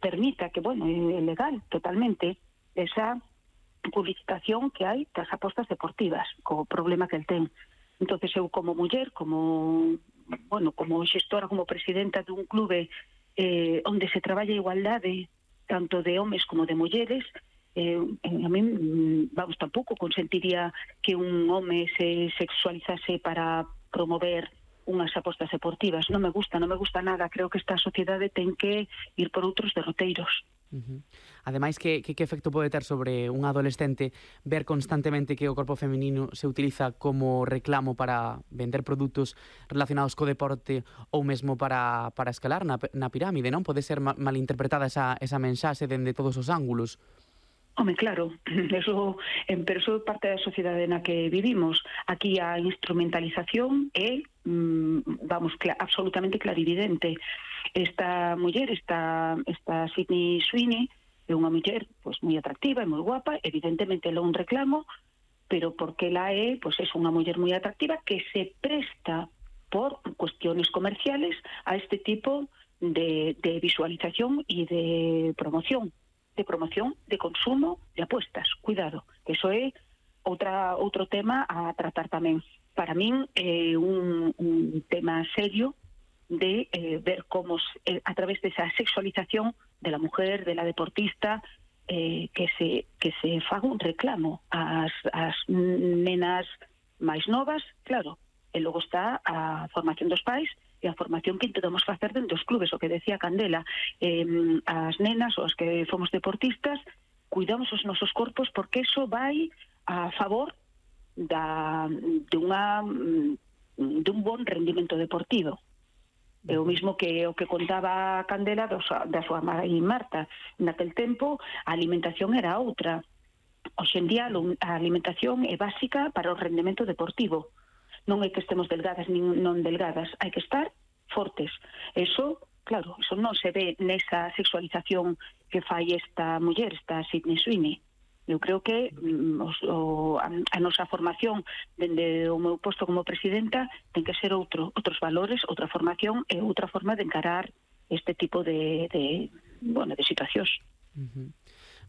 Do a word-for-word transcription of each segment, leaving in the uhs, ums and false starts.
permita, que, bueno, é legal totalmente, esa publicitación que hai das apostas deportivas, co problema que el ten. Entonces eu como muller, como, bueno, como xestora, como presidenta dun clube eh, onde se traballa a igualdade tanto de homes como de mulleres, eh, a mí, vamos, tampouco consentiría que un home se sexualizase para promover unhas apostas deportivas. Non me gusta, non me gusta nada. Creo que esta sociedade ten que ir por outros derroteiros. Uh-huh. Ademais, que, que, que efecto pode ter sobre un adolescente ver constantemente que o corpo feminino se utiliza como reclamo para vender produtos relacionados co deporte ou mesmo para, para escalar na, na pirámide, non? Pode ser ma, malinterpretada esa, esa mensaxe dende todos os ángulos. Home, claro, eso, pero eso é parte da sociedade na que vivimos. Aquí a instrumentalización é, vamos, cl- absolutamente clarividente. Esta muller, esta, esta Sydney Sweeney, é unha muller pois, moi atractiva e moi guapa, evidentemente ela é un reclamo, pero porque ela é, pois, é unha muller moi atractiva que se presta por cuestiones comerciales a este tipo de, de visualización e de promoción. de promoción, de consumo, de apuestas. Cuidado, que eso é outra, outro tema a tratar tamén. Para min é un, un tema serio de eh, ver como eh, a través desa sexualización de la mujer, de la deportista, eh, que se que se faga un reclamo ás, ás nenas máis novas, claro, e logo está a formación dos pais e a formación que intentamos facer dentro dos clubes, o que decía Candela, eh, as nenas ou as que fomos deportistas, cuidamos os nosos corpos porque eso vai a favor da, de unha de un bon rendimento deportivo. É o mismo que o que contaba Candela dos, da súa mãe Marta. Naquel tempo a alimentación era outra. Hoxe en día a alimentación é básica para o rendimento deportivo. Non é que estemos delgadas nin non delgadas, hai que estar fortes. Eso, claro, eso non se ve nesa sexualización que fai esta muller, esta Sydney Sweeney. Eu creo que mm, os, o, a, a nosa formación dende o meu posto como presidenta ten que ser outro, outros valores, outra formación e outra forma de encarar este tipo de, de, bueno, de situacións. Uh-huh.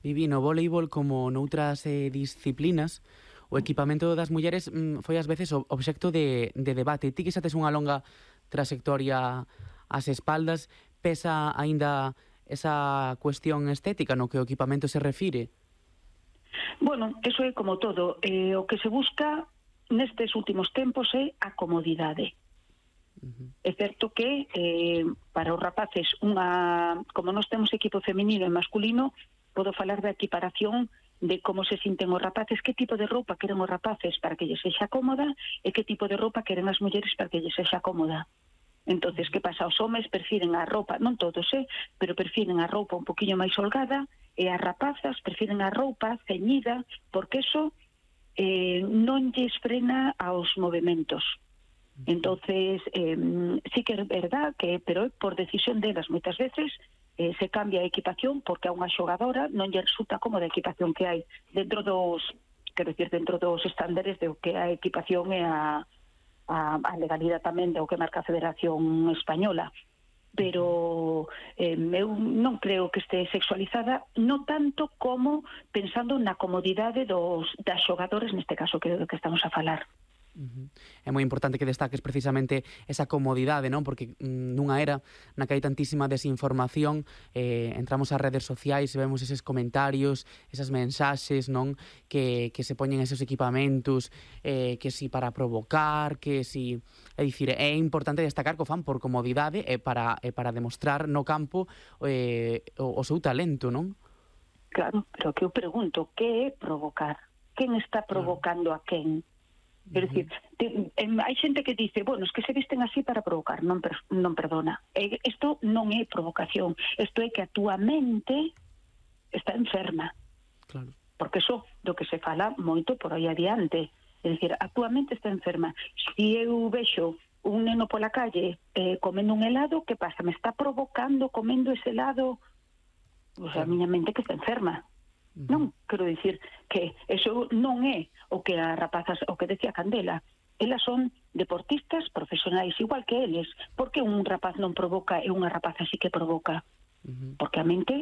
Vivi, no voleibol como noutras eh, disciplinas, o equipamento das mulleres mm, foi ás veces obxecto de, de debate. Ti que xa tes unha longa trayectoria ás espaldas, pesa aínda esa cuestión estética no que o equipamento se refire? Bueno, eso é como todo. Eh, o que se busca nestes últimos tempos é a comodidade. Uh-huh. É certo que eh, para os rapaces, unha, como nós temos equipo feminino e masculino, podo falar da equiparación de como se sinten os rapaces, que tipo de roupa queren os rapaces para que lles sexa cómoda e que tipo de roupa queren as mulleres para que lles sexa cómoda. Entonces, que pasa? Os homes prefiren a roupa, non todos, eh, pero prefiren a roupa un poquinho máis holgada e as rapazas prefiren a roupa ceñida porque eso eh, non lles frena aos movimentos. Entonces, eh, sí que é verdad que, pero por decisión delas moitas veces, Eh, se cambia a equipación porque a unha xogadora non lle resulta cómoda a equipación que hai dentro dos, quero decir, dentro dos estándares de o que a equipación e a, a, a legalidade tamén de o que marca a Federación Española. Pero eh, eu non creo que este sexualizada, non tanto como pensando na comodidade dos, das xogadores, neste caso que é do que estamos a falar. Uh-huh. É moi importante que destaques precisamente esa comodidade, non? Porque mm, nunha era na que hai tantísima desinformación, eh, entramos ás redes sociais e vemos eses comentarios, esas mensaxes, non? Que, que se poñen esos equipamentos, eh, que si para provocar, que si... É dicir, é importante destacar que o fan por comodidade e para, e para demostrar no campo eh, o, o seu talento, non? Claro, pero que eu pregunto, que é provocar? Quen está provocando a quen? É dicir, te, eh, hai xente que dice, bueno, es que se visten así para provocar, non, per, non perdona. Isto eh, non é provocación, isto é que a túa mente está enferma. Claro. Porque eso do que se fala moito por aí adiante. É dicir, a túa mente está enferma. Se eu vexo un neno pola calle eh, comendo un helado, que pasa? Me está provocando comendo ese helado? Pois a miña mente que está enferma. Non, quero dicir que eso non é o que as rapazas, o que decía Candela, elas son deportistas profesionais igual que eles. Por que un rapaz non provoca e unha rapaza sí que provoca? porque a mente